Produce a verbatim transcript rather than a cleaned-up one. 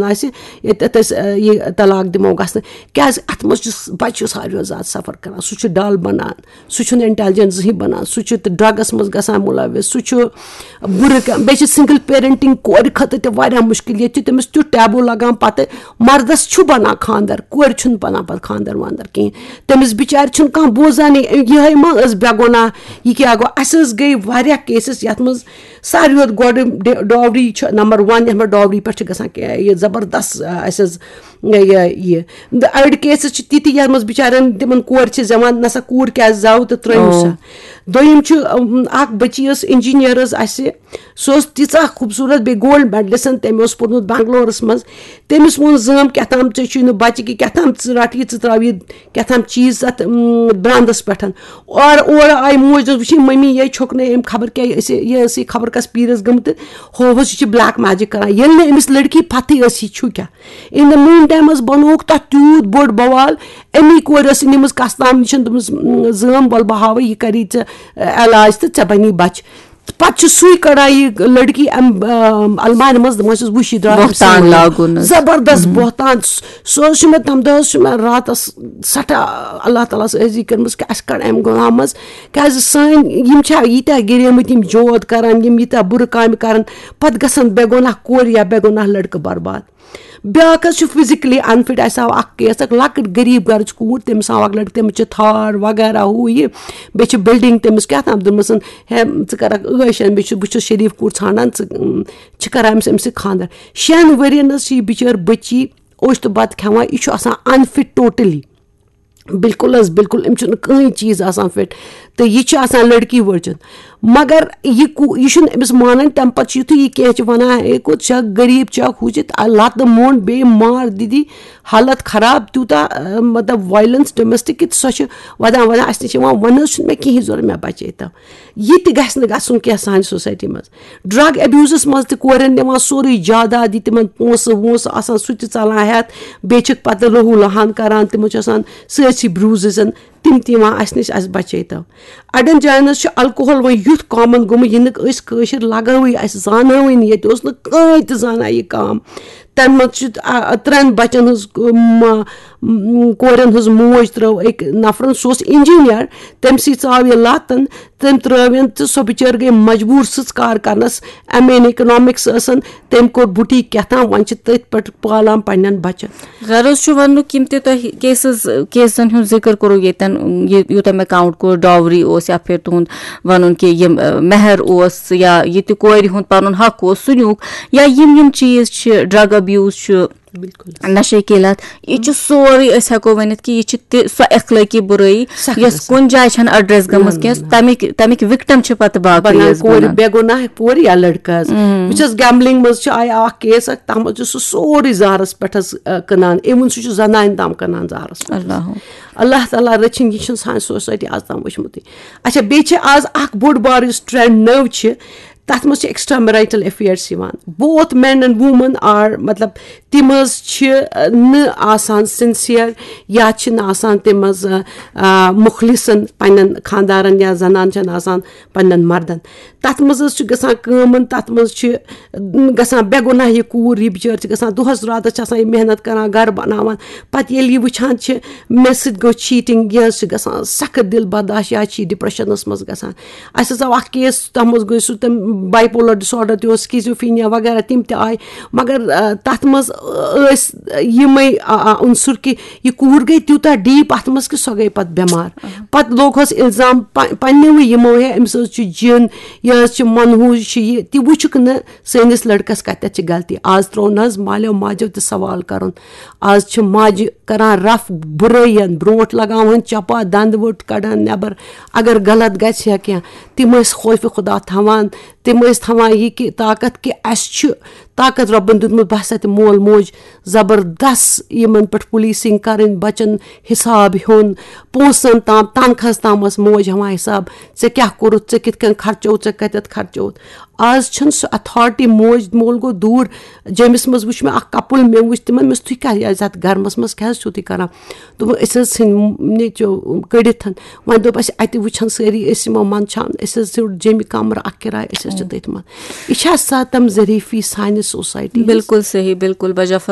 آسہِ، ییٚتٮ۪تھ أسۍ، آ، یہِ طلاق دِمو گژھنہٕ۔ کیٛازِ اَتھ منٛز چھُ س-، بَچہٕ چھُ ساروِیو زیادٕ سفر کران، سُہ چھُ ڈل بنان، سُہ چھُنہٕ انٹیلیجنٹ زٕہٕنۍ بنان، سُہ چھُ تہٕ ڈرگس منٛز گژھان مُلوث، سُہ چھُ بُرٕ کا-، بیٚیہِ چھِ سنگل پیرنٹنگ کورِ خٲطرٕ تہِ واریاہ مُشکل۔ ییٚتہِ چھُ تٔمِس تیُتھ ٹیبو لگان، پتہٕ مردس چھُ بنان خاندر، کورِ چھُنہٕ بنان پتہٕ خاندر واندر کِہیٖنۍ۔ تٔمِس بِچارِ چھُنہٕ کانٛہہ بوزانٕے، یِہوٚے ما ٲس بے گۄناہ، یہِ کیٛاہ گوٚو؟ اَسہِ حظ گٔے واریاہ کیسز یَتھ منٛز ساروی کھۄتہٕ گۄڈٕ ڈے-، ڈاوری چھِ نمبر ون، یَتھ منٛز ڈاوری پٮ۪ٹھ چھِ گژھان کہِ-، یہِ زبردست، آ، اَسہِ حظ یہِ، یہِ۔ تہٕ أڑۍ کیسز چھِ تِتھۍ یَتھ منٛز بِچارٮ۪ن تِمن کورِ چھِ زٮ۪وان، نہ سا کوٗر کیٛازِ زٮ۪و تہٕ ترٛٲیِو سا۔ او۔ دوٚیِم چھُ، أم، اکھ بٔچی ٲس انجینئر حظ اَسہِ، سۄ ٲس تیٖژاہ خوٗبصوٗرت، بیٚیہِ گولڈ میڈلسٹ، تٔمۍ اوس پوٚرمُت بنگلورس منٛز۔ تٔمِس ووٚن زٲم کیٛاہ تام، "ژےٚ چھُے نہٕ بچہِ کہِ کیٛاہ تام، ژٕ رَٹ یہِ، ژٕ ترٛاو یہِ کیٛاہ تام چیٖز اَتھ، اۭں، براندَس پٮ۪ٹھ۔" اور اورٕ آیہِ موج، دوٚپُس، "وٕچھ یہِ مٔمی، یہِ چھُکھ نہٕ أمۍ خبر کیٛاہ، یہِ ٲسۍ، یہِ ٲسٕے خبر کَس پیٖرِس گٔمٕژ تہٕ ہووُس یہِ چھِ بلیک میجک کَران۔" ییٚلہِ نہٕ أمِس لٔڑکی پَتھٕے ٲس یہِ چھُ کیٛاہ۔ In the meantime حظ بَنووُکھ تَتھ تیوٗت بوٚڑ بوال، اَمی کورِ ٲس نِمٕژ کَستام نِش، دوٚپمَس، "اۭں، زٲم، وَلہٕ بہٕ ہاوَے، یہِ کَری ژےٚ، اَ، علاج تہٕ ژےٚ بَنی بَچہِ۔" پتہٕ چھُ سُے کڑان یہِ لڑکی امہِ، آم، المارِ منٛز، دپان چھُس، "وٕچھ، یہِ درٛاو أمۍ بہتان سٕنٛدِ لاگُن حظ۔ زبردست بہتان۔" سُہ، سُہ حظ چھُ مےٚ، تَمہِ دۄہ حظ چھُ مےٚ راتس سٮ۪ٹھاہ اللہ تعالیٰ ہس عٲجزی کٔرمٕژ کہِ اَسہِ کڑ امہِ گۄناہ منٛز، کیازِ سٲنۍ یِم چھا ییٖتیٛاہ گِریمٕتۍ یِم جود کران، یِم ییٖتیٛاہ بُرٕ کامہِ کران، پتہٕ گژھن بے گۄناہ کورِ یا بے گۄناہ لڑکہٕ برباد۔ بیٛاکھ حظ چھُ فزیکلی انفٹ۔ اَسہِ آو اکھ کیس، اکھ لۄکٕٹ غریٖب گرٕچ کوٗر، تٔمِس آو اکھ لڑکہٕ، تٔمِس چھِ تھار وغیرہ ہُہ یہِ، بیٚیہِ چھِ بلڈنگ تٔمِس کیٛاہ تام دِژمٕژ، ہے، ژٕ کَرَکھ عٲش، مےٚ چھُ، بہٕ چھُس شریٖف کوٗر ژھانٛڈان، ژٕ، اۭں، چھِ کَران أمِس، أمِس سۭتۍ خانٛدر۔ شٮ۪ن ؤرِین حظ چھِ یہِ بِچٲر بٔچی اوٚش تہٕ بَتہٕ کھٮ۪وان، یہِ چھُ آسان انفٹ ٹوٹلی، بالکل حظ، بالکل، أمِس چھُنہٕ کٕہٕنۍ چیٖز آسان فِٹ، تہٕ یہِ چھِ آسان لڑکی ؤرجن۔ مگر یہِ کو-، یہِ چھُنہٕ أمِس مانان، تَمہِ پَتہٕ چھُ یُتھُے یہِ کینٛہہ چھِ وَنان، "ہے، کوٚت چھَکھ، غریٖب چھَکھ، ہُہ چھِ"، تہٕ لَتہٕ موٚنٛڈ بیٚیہِ مار دِدی، حالت خراب، تیوٗتاہ، اَ، مطلب، وایلنس ڈومیسٹک، کہِ سۄ چھِ وَدان وَدان اَسہِ نِش یِوان، وَنہٕ حظ چھُنہٕ مےٚ کِہیٖنۍ ضوٚرَتھ، مےٚ بَچٲیتو۔ یہِ تہِ گژھِ نہٕ گژھُن کینٛہہ سانہِ سوسایٹی منٛز۔ ڈرگ ابیوزس منٛز تہِ کورٮ۪ن نِوان سورُے جاداد، یہِ تِمن پونٛسہٕ وونٛسہٕ آسان، سُہ تہِ ژلان ہٮ۪تھ، بیٚیہِ چھِکھ پتہٕ لہو لہان کران، تِمن چھُ آسان سٲرسٕے بروززن، تِم تہِ یِوان اَسہِ نِش، اَسہِ بچٲیتو۔ اَڑٮ۪ن جاین حظ چھُ الکوہل وۄنۍ یُتھ کامن گوٚمُت، یہِ نہٕ أسۍ کٲشِر لگٲوٕے، اَسہِ زانہوٕے نہٕ، ییٚتہِ اوس نہٕ کٕہٕنۍ تہِ زانان یہِ کٲم۔ تَمہِ منٛز چھِ، آ، ترٛٮ۪ن بچن ہٕنٛز، م-، م-، کورٮ۪ن ہٕنٛز موج ترٲو أکۍ نفرن، سُہ اوس انجینئر، تٔمۍ سٕے ژاو یہِ لتن، تٔمۍ ترٲو یَن تہٕ سۄ بِچٲر گٔے مجبوٗر سٕژ کار کرنس۔ ایم اے اِن اِکنامِکس ٲسن، تٔمۍ کوٚر بُٹیٖک کیٛاہ تام، وۄنۍ چھِ تٔتھۍ پٮ۪ٹھ پالان پننٮ۪ن بچن۔ غرض چھُ وننُک، یِم تہِ تۄہہِ کیسز، کیسن ہُنٛد ذِکر کوٚرُو ییٚتٮ۪ن، یہِ، یوٗتاہ مےٚ کاؤنٹ کوٚر، ڈاوری اوس یا پھر تُہُنٛد ونُن کہِ یِم، ٲ، مہر اوس یا یہِ تہِ کورِ ہُنٛد پنُن حق اوس، سُہ نیوٗکھ، یا یِم یِم چیٖز چھِ، ڈرگ ابیوز چھُ، بالکل۔ نشے کی لت، یہِ چھُ سورُے، أسۍ ہٮ۪کو ؤنِتھ کہِ یہِ چھِ تہِ سۄ اخلٲقی بُرٲیی، سخت یۄس گژھان۔ کُنہِ جایہِ چھَنہٕ ایڈریس گٔمٕژ نہ، کینٛہہ۔ نہ، نہ۔ تَمِکۍ، تَمِکۍ وِکٹم چھِ پتہٕ باقٕے بَنان حظ کورِ، بَنان۔ بے گۄناہ کورِ یا لڑکہٕ حظ۔ مم۔ بہٕ چھَس گیمبلنگ منٛز چھُ آیہِ اکھ کیس اکھ، تَتھ منٛز چھُ سُہ سورُے زہرس پٮ۪ٹھ حظ، آ، کٕنان، اِوٕن سُہ چھُ زنانہِ تام کٕنان زہرس پٮ۪ٹھ حظ۔ اللہ۔ اللہ تعالیٰ رٔچھِنۍ، یہِ چھُنہٕ سانہِ سوسایٹی آز تام وٕچھمُتٕے۔ اچھا، بیٚیہِ چھِ آز اکھ بوٚڑ بار یُس ٹرینڈ نٔو چھِ، تَتھ منٛز چھِ extramarital affairs یِوان۔ Both men and women are، مطلب، تِم حظ چھِ، آ، نہٕ آسان سِنسِیر یا چھِ نہٕ آسان تِم حظ، آ، آ، مُخلِصن پننٮ۪ن خانٛدارن یا زنان چھَنہٕ آسان پننٮ۪ن مردن۔ تَتھ منٛز حظ چھِ گژھان کٲم، تَتھ منٛز چھِ، م، گژھان بے گۄناہ یہِ کوٗر، یہِ بِچٲر چھِ گژھان دۄہس راتس چھِ آسان یہِ محنت کران، گرٕ بناوان۔ پتہٕ ییٚلہِ یہِ وٕچھان چھِ، مےٚ سۭتۍ گوٚو cheating، یہِ حظ چھِ گژھان سخت دِل برداشت، یا چھِ یہِ ڈپریشنس منٛز گژھان۔ اَسہِ حظ آو اکھ کیس، تَتھ منٛز گوٚو سُہ تَمہِ bipolar disorder تہِ اوس، schizophrenia وغیرہ، تِم تہِ آیہِ۔ مگر، آ، تَتھ منٛز ٲسۍ یِمَے، آ، آ، عنصر کہِ یہِ کوٗر گٔے تیوٗتاہ deep اَتھ منٛز کہِ سۄ گٔے پَتہٕ بٮ۪مار۔ پَتہٕ لوٚگ ہَس اِلزام پَ-، پنٛنیوٕے یِمو ہے، أمِس حظ چھُ جِن، یہِ حظ چھِ منحوٗس، چھِ یہِ تہِ وٕچھُکھ نہٕ سٲنِس لٔڑکَس کَتٮ۪تھ چھِ غلطی۔ آز ترٛوو نہٕ حظ مالیو ماجیو تہِ سوال کَرُن۔ آز چھِ ماجہِ کران رف بُرٲیَن، برونٛٹھ لگاوان چپا، دند ؤٹ کڑان نٮ۪بر۔ اگر غلط گژھِ ہا کینٛہہ، تِم ٲسۍ خوفِ خدا تھاوان، تِم ٲسۍ تھاوان یہِ کہِ طاقت کہِ اَسہِ چھُ طاقت رۄبن دیُتمُت، بہٕ ہسا تہِ مول موج زبردست یِمن پٮ۪ٹھ پولیسنگ کرٕنۍ، بچن حساب ہیوٚن، پونٛسن تام، تنخواہس تام ٲس موج ہٮ۪وان حساب، ژےٚ کیٛاہ کوٚرُتھ، ژےٚ کِتھ کٔنۍ خرچووُتھ، ژےٚ کتٮ۪تھ خرچووُتھ۔ آز چھنہٕ سُہ اتھارٹی، موج مول گوٚو دوٗر۔ جیٚمِس منٛز وٕچھ مےٚ اکھ کپل، مےٚ وٕچھ تِمن، مےٚ ووٚنُس، "تُہۍ کیٛاہ یتھ گرمس منٛز کیٛاہ حظ چھِو تُہۍ کران؟" دوٚپُن، "أسۍ حظ ژھٕنۍ نیٚچو کٔڑِتھ۔" وۄنۍ دوٚپ اَسہِ، اَتہِ وٕچھن سٲری، أسۍ یِمو منٛدچھان، اَسہِ حظ ژھیوٚٹ جیٚمہِ کمرٕ اکھ کِراے، أسۍ حظ چھِ تٔتھۍ منٛز۔ یہِ چھا سا تِم ظریفی سانہِ سوسایٹی ہٕنٛز؟ بِلکُل صحیح، بِلکُل۔ بجا